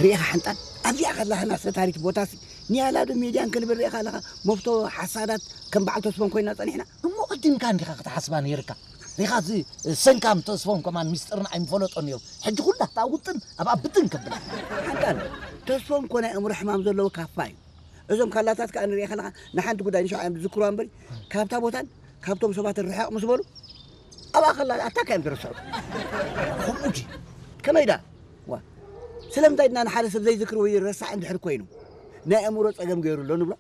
ርኢኻ ሓንጣል ኣብዚኣ ከላህና ሰታሪት ቦታሲ ኒያላዶ ሜድያን ክንብል ርኢኻ ኣለኻ። መፍቶ ሓሳዳት ከም በዓል ተስፎን ኮይና ጸኒሕና። እሞ ቅድምካ እንዲኻ ክትሓስባ ነይርካ። ሪኻ እዚ ሰንካም ተስፎም ከማን ሚስጥርና ኣይምፈለጦን እዮም። ሕጂ ኩላ እታ ውጥን ኣብ ኣብጥን ከብላ። ሓንጣል ተስፎም ኮነ እምሮ ሕማም ዘለዎ ካፋ እዩ። እዞም ካላታት ከኣ ንሪኢ ከለኻ ንሓንቲ ጉዳይ ንሸውዓዮም ዝዝክርዋ እምበሪ ካብታ ቦታን ካብቶም ሰባትን ርሕቕ ምስ በሉ ኣብኣ ከላ ኣታ ካዮም ዝረስዑ። ከምኡ ድዩ? ከመይ ደኣ? ዋ ስለምንታይ ድና ንሓደ ሰብ ዘይዝክር ወይ ረሳዕ እንድሕር ኮይኑ ናይ ኣእምሮ ጸገም ገይሩ ኣሎ ንብሎ?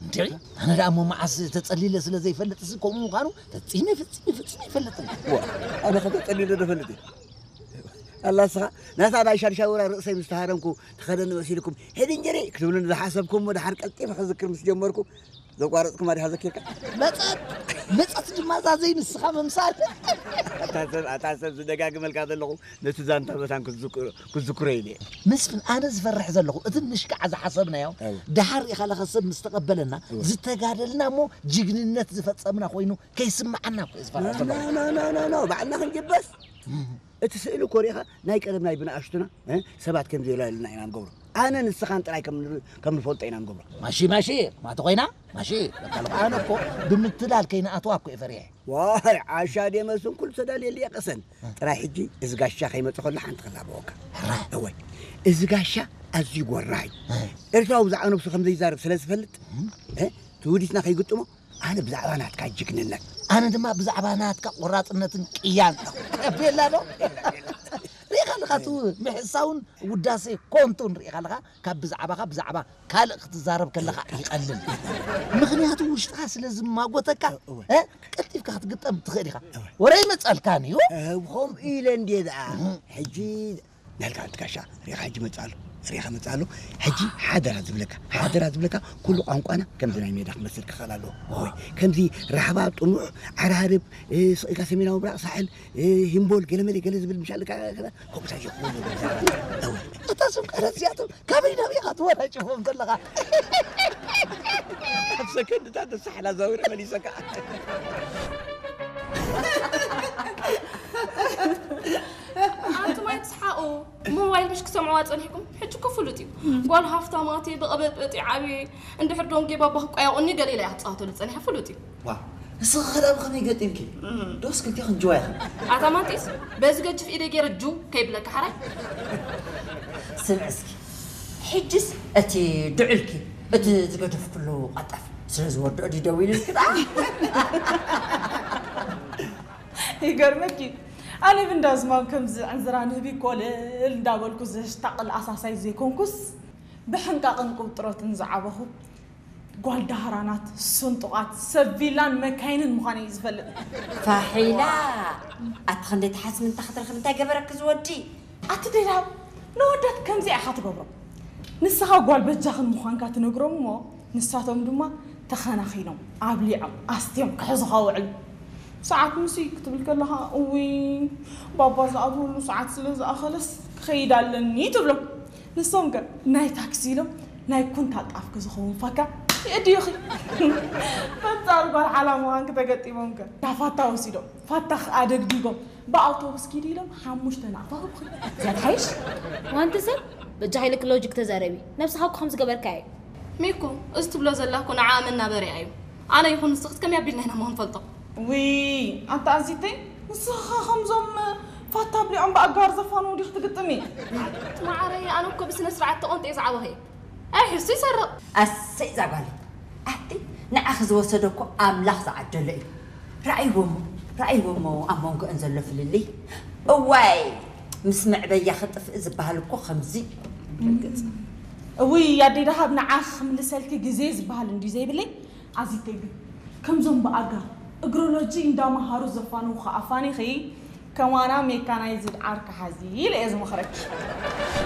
እንዴ ኣነ ደኣ እሞ መዓስ ተጸሊለ ስለ ዘይፈልጥ ሲ ከምኡ ምዃኑ ፈጺመ ፈጺመ ፈጺመ ይፈልጥን። ዋ ኣነ ከተጸሊለ ዶ ፈልጥ? ኣላ ስኻ ነታ ናይ ሻድሻውራ ርእሰይ ምስ ተሃረምኩ ተኸደኒ መሲልኩም ሄድ እንጀሪ ክትብሉኒ ዝሓሰብኩም እሞ ድሓር ቀልጢፈ ክዝክር ምስ ጀመርኩ ዘቋረጽኩማ ዲኻ ዘኪርካ? መጸት መጸት ድማ እዛ ዘይንስኻ ምምሳል። ኣታ ሰብ ኣታ ሰብ ዝደጋግመልካ ዘለኹ ነቲ ዛንታ መታን ክትዝክሮ ክትዝክሮ ኢለ እየ። መስፍን ኣነ ዝፈርሕ ዘለኹ እቲ ምሽካዕ ዝሓሰብናዮ እወ። ደሓር ኢኻ ለኸ ሰብ ምስ ተቐበለና እወ። ዝተጋደልና እሞ ጅግንነት ዝፈጸምና ኮይኑ ከይስምዓና እኮ እየ ዝፈርሕ ዘለኹ። ኖ ባዕልና ክንጅበስ እቲ ስእሊ እኮ ሪኢኻ ናይ ቀደም ናይ ብንኣሽቱና እ፣ ሰባት ከምዚ የላልና ኢና ንገብሮ። ኣነ ንስኻን ጥራይ ከም ን- ከም ንፈልጦ ኢና ንገብሮ። ማሺ ማሺ ማቲ ኮይና ማሺ በቃ ኣነ እኮ ብምትላል ከይንኣትዋ እኮ እየ ፈሪሐ። ዋይ ዓሻ ደመ ስንኩል ተዳልየሉ የቀሰን ጥራይ ሕጂ እዚ ጋሻ ከይመጽእ ከሎ ሓንቲ ክላበወካ። ሕራይ። እወይ እዚ ጋሻ ኣዝዩ ጎራይ እ። ኤርትራዊ ብዛዕባ ነብሱ ከም ዘይዛረብ ስለ ዝፈልጥ እ፣ ትውዲትና ከይግጥሞ ኣነ ብዛዕባ ናትካ ጅግንነት ኣነ ድማ ብዛዕባ ናትካ ቆራጽነትን ቅያን ቤላ ዶ ሪኢኻ ኣለኻ እቲ ምሕሳውን ውዳሴ ኮንቱን ሪኢኻ ኣለኻ ካብ ብዛዕባኻ ብዛዕባ ካልእ ክትዛረብ ከለኻ ይቐልል ምኽንያቱ ውሽጥኻ ስለ ዝማጎተካ እ፣ ቀልጢፍካ ክትግጠም ትኽእል ኢኻ ወረ ይመጸልካን እዩ ከምኡ ኢለ እንድየ ደኣ ሕጂ ናልካ ኣንቲ ጋሻ ሪኻ ሕጂ መጽእ ኣሎ ሪኻ መጽእ ኣሎ ሕጂ ሓደራ ዝብለካ ሓደራ ዝብለካ ኩሉ ቋንቋና ከምዚ ናይ ሜዳ ክመስል ክኽእል ኣለዎ ወይ ከምዚ ራሕባ ጥሙዕ ዓራርብ ስቕ ኢልካ ሰሜናዊ ብራቕ ሳሕል ሂምቦል ገለመለ ገለ ዝብል ምሻልካ ከምኡታ ይኹን እታ ስም ቀረጽያቶም ካበይ ናብ ኢኻ ትወራጭፎም ዘለኻ ኣብ ሰከንድታት ተሳሕላ ዛዊረ መሊሰካ ኣንቱም ኣይትስሓቑ። ሞባይል ምሽ ክሰምዕዋ ጸኒሕኩም? ሕጂ እኮ ፍሉጥ እዩ። ጓል ሃፍታማት እየ፣ ብቐበጥበጥ ይዓብየ፣ እንድሕር ዶንጌ ባባ ክቋየቑኒ ገለ ኢላ እያ ክትጻወተሉ ጸኒሓ፣ ፍሉጥ እዩ። ዋው፣ ንስኺ ኸ ደኣ ብኸመይ ገጢምኪ? ዶስ ክልቴኽን ጅዋ ኢኽን? ኣታ ማንጢስ፣ በዚ ገጅፍ ኢደይ ገይረ ጅው ከይብለካ ሓራይ። ስምዒ እስኪ፣ ሕጅስ እቲ ድዑልኪ እቲ ዝገደፍክሉ ቀልጠፍ ስለ ዝወድኦ ድዩ ደዊሉልኪ ደኣ? ይገርመኪ ኣነ ብንዳዝማም ከምዚ ዕንዝራ ንህቢ ኮለል እንዳበልኩ ዘሽታቕል ኣሳሳይ ዘይኮንኩስ ብሕንቃቕን ቅብጥሮትን ዝዓበኹ ጓል ዳህራናት፣ ስንጡቓት፣ ሰብ ቪላን መካይንን ምዃነይ እዩ ዝፈልጥ። ፋሒላ ኣቲ ክንደይ ትሓስሚ እንተ ክትረኽቢ እንታይ ገበረኪ ዝወዲ? ኣቲ ደልሃብ ንወዳት ከምዚኣ ኢኻ ትገብሮም። ንስኻ ጓል በጃኽን ምዃንካ ትነግሮም እሞ ንሳቶም ድማ ተኸናኺኖም፣ ኣብሊዖም፣ ኣስትዮም ክሕዙኻ ውዕሉ። ሰዓት ምሲ ክትብል ከለኻ እውይ ባባ ዝኣትወሉ ሰዓት ስለ ዝኣኸለስ ክኸይድ ኣለኒ ትብሎም። ንሶም ከ ናይ ታክሲ ኢሎም ናይ ኩንታል ጣፍኪ ዝኸውን ፋካ የእድዩኺ። በንጻሩ ጓል ሓላል ምዃንኪ ተገጢሞም ከ ዳፋታ ወሲዶም ፋታኺ ኣደግዲጎም ብኣውቶቡስ ኪዲ ኢሎም ሓሙሽተ ናቕፋ ህብኺ። እዚኣ ትሓይሽ? ዋንቲ ሰብ በጃ ሃይለኪ ሎጂክ ተዛረቢ። ነብስኻ እኮ ከም ዝገበርካያ እዩ። ሚኩ እዚ ትብሎ ዘላ እኮ ንዓኣ መናበሪኣ እዩ። ኣነ ይኹን ንስኺ ከመይ ኣቢልና ኢና እሞ ክንፈልጦ? ውይ ኣንታ ኣዚተይ ንስኺ ኸ ከምዞም ፋታ ኣብሊዖም ብኣጋር ዘፋንዉ ዲኺ ትግጥሚ? ኣቲ መዓረይ ኣነ እኮ ብስነ ስርዓት ተቖንጢ እየ ዝዓበኹ እየ። ኣይ ሕሱ ይሰርቕ። ኣሰይ እዛ ጓለይ ኣቲ ንዓኺ ዝወሰደ እኮ ኣምላኽ ዝዓደሎ እዩ። ረኣይዎ እሞ ረኣይዎ እሞ ኣብ መንጎአን ዘሎ ፍልልይ። እዋይ ምስ መዕበያ ክጥፍእ ዝበሃል እኮ ከምዚ። እውይ ኣደይ ደሃብ ንዓኺ ክምልሰልኪ ግዜ ዝበሃል እንድዩ ዘይብለይ ኣዚተይ ግን ከምዞም ብኣጋ እግሮሎጂ እንዳመሃሩ ዘፋንዉኺ ኣፋኒኺ ከማና ሜካናይዝድ ዓርኪ ሓዚ ኢለ እየ ዝመኽረኪ።